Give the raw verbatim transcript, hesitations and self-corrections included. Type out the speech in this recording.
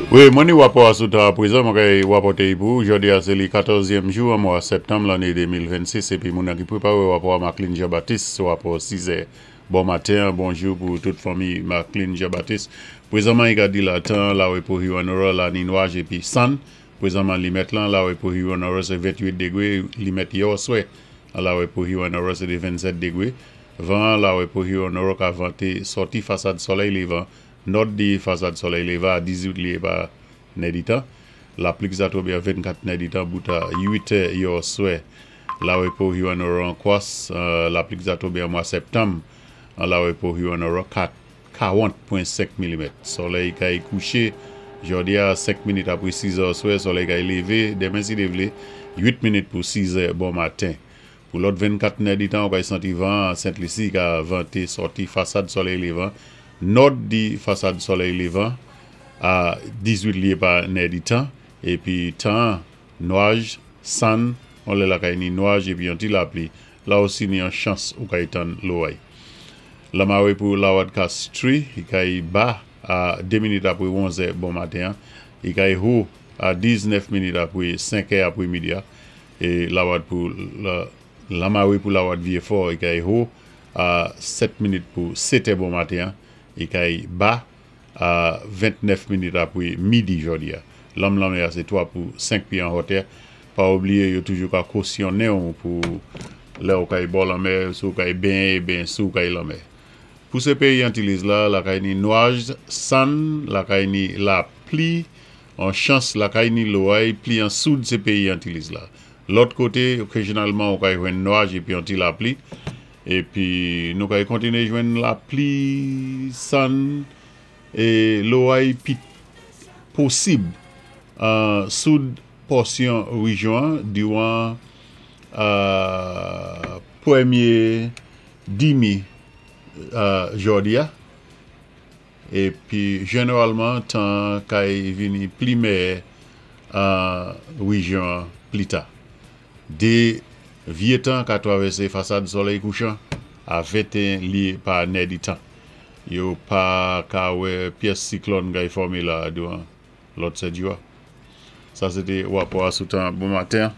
Wi, mwen ni wapò a sou tan apwézan, mwen kay wapòté-y pou ou. Jòdi-a sé li katòzyèm jou an mwa sèptanm lanné de mil vennsis épi moun ki pwépawé wapò a, Maclean Jean-Baptiste, wapò sizè bon maten. Bonjou pou tout fanmi Maclean Jean-Baptiste. Pwézanman, i ka di la tan lawé pou Hewanorra la ni nwaj épi sann. Pwézanman, limèt lan lawé pou Hewanorra sé venntwit dégwé, limèt yè oswè lawé pou Hewanorra sé vennsèt dégwé. Van lawé pou Hewanorra ka vanté sòti fasad solèy lévan, nòd di fasad solèy lévan a dizuit lyé pa nèditan. Lapli ki sa twonbé a vennkat nèditan bout a uit è yè oswè. Lawé pou Hewanorra an kwas, lapli ki sa twonbé an mwa sèptanm an lawé pou Hewanorra karant pwen senk milimèt. Solèy kay kouché jòdi a senk minit apwé siz è oswè, solèy kay lévé denmen si Dye vlé uit minit pou siz è bon maten. Pou lòt vennkat nèditan, ou kay santi van Sent Lisi ka vanté sòti fasad solèy lévan, nòd di fasad solèy lévan a dizuit lyé pa nèditan, épi tan nwaj, sann, on lè lakay ni nwaj épi yon ti lapli, la osi ni yon chans ou kay tann loway. Lamawé pou lawad Castries, i kay ba a de minit apwé onz è bon maten, i kay wo a diznèf minit apwé senk è apwé midi, é lawad pou lamawé pou lawad Vieux-Fort, i kay wo a sèt minit pou sèt è bon maten, i kay ba a ventnèf minit apwé midi jòdi-a. Lanm lanmè a sé twa pou senk pyé an wotè. Pa oubliyé, yo toujou ka kosyonnen pou lè ou kay bò lanmè, si ou kay benyen, ben si ou kay lanmè. Pou sé péyi Antiliz la, lakay ni nwaj, sann, lakay ni lapli, an chans lakay ni loway, pli an soud sé péyi Antiliz la. Lòt koté, okazyonalman, ou kay jwenn nwaj épi an ti lapli. Épi nou kay kontiné jwenn lapli, sann, é loway pi posib an soud pòsyon wéjyon diwan pwémyé dimi jòdi-a. Épi jénéwalman, tan kay vini pli mèyè an wéjyon plita. Dé vyé tan ka twavèsé fasad solèy kouchan a venteyen lyé pa nèditan. Yo pa ka wè pyès siklòn kay fòmé la diwan lòt sèt jou-a. Sa sé té wapò a sou tan bon maten.